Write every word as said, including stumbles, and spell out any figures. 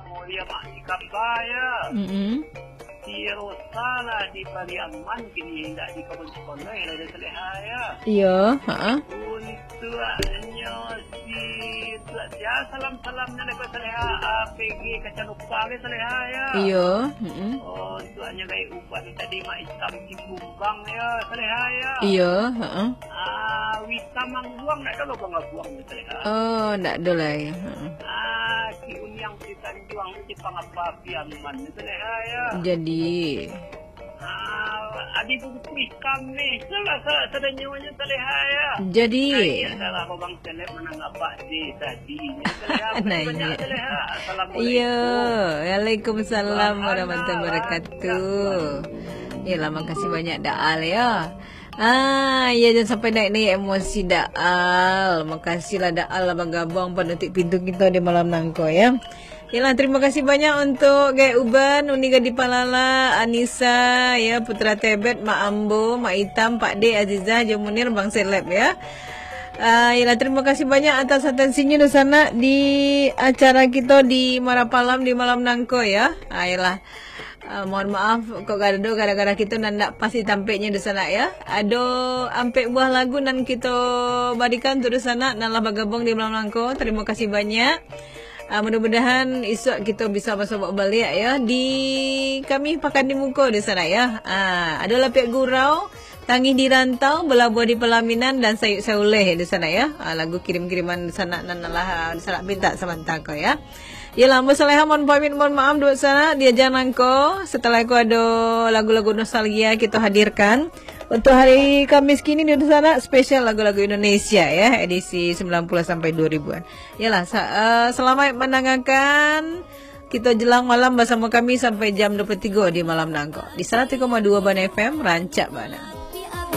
Mulia Mak Ikamba, ya. Mm-mm. Si Rosa lah di Pariaman, kini indak di Kabupaten Sikono, ya, lah, Saleha, ya. Iyo, ha. Untuaknyo si, untuak sia salam-salamnyo dari Saleha, A P G Kacanupa, ya, Saleha, ya. Iyo, mm-mm. Oh, untuaknyo dari Uban tadi, Mak Itam Cikumbang, ya, Saleha, ya. Iyo, ha. Ah, Wita Mangguang, ndak ado lo Bang Abuang, ya, Saleha. Oh, ndak ado lai, ha. Ah, si Uniang Juang tu Jepang apa api aman tu, Saleha, ya. Jadi. Ah, Adi Bungkuih kami, salah sa-, sadanyonyo, Saleha, ya. Jadi. Nah, iya, salah Abang Seleb manang abah di tadi. Saleha, makasih banyak, Saleha. Assalamualaikum. Iya, waalaikumsalam warahmatullahi wabarakatuh. Yalah, makasih banyak, Daal, ya. Ah, ya, jangan sampai naik-naik emosi, Daal. Makasihlah, Daal, lah bagabuang panutuik pintu kita di malam nangko, ya. Yalah, terima kasih banyak untuk Gaek Uban, Uni Gadih Palala, Anisa, ya, Putra Tebet, Mak Ambo, Mak Itam, Pak Dek, Azizah, Jo Munir, Bang Seleb, ya. Ah, yalah, terima kasih banyak atas atensinya di sana di acara kita di Marapalam di malam nangko, ya. Ah, yalah. Ah, mohon maaf, kok kadang gara-gara kita nan ndak pasti tampeknya di sana, ya. Ado ampek buah lagu nan kita barikan untuk di sana, nan lah bagabuang di malam nangko. Terima kasih banyak. Ah, mudah-mudahan isuak kita bisa basobok baliak, ya, di kami Pakan di Muko di sana, ya. Ah, ado Lapiak Gurau, Tangih di Rantau, Balabuah di Palaminan, dan Sayuk Sauleh di sana, ya. Ah, lagu kirim-kiriman di sana nan lah, ah, di sana minta samantang ko, ya. Yalah, ambo Saleha mohon pamit, mohon maaf dulu sana di acara nangko. Setelah ko ado lagu-lagu nostalgia kita hadirkan. Untuk hari Kamis kini di sana spesial lagu-lagu Indonesia, ya, edisi sembilan puluh sampai dua ribuan. Yalah, sa-, eh, selamat mendengarkan. Kita jelang malam bersama kami sampai jam dua puluh tiga di malam nangko. Di seratus koma dua Bana F M, rancak bana.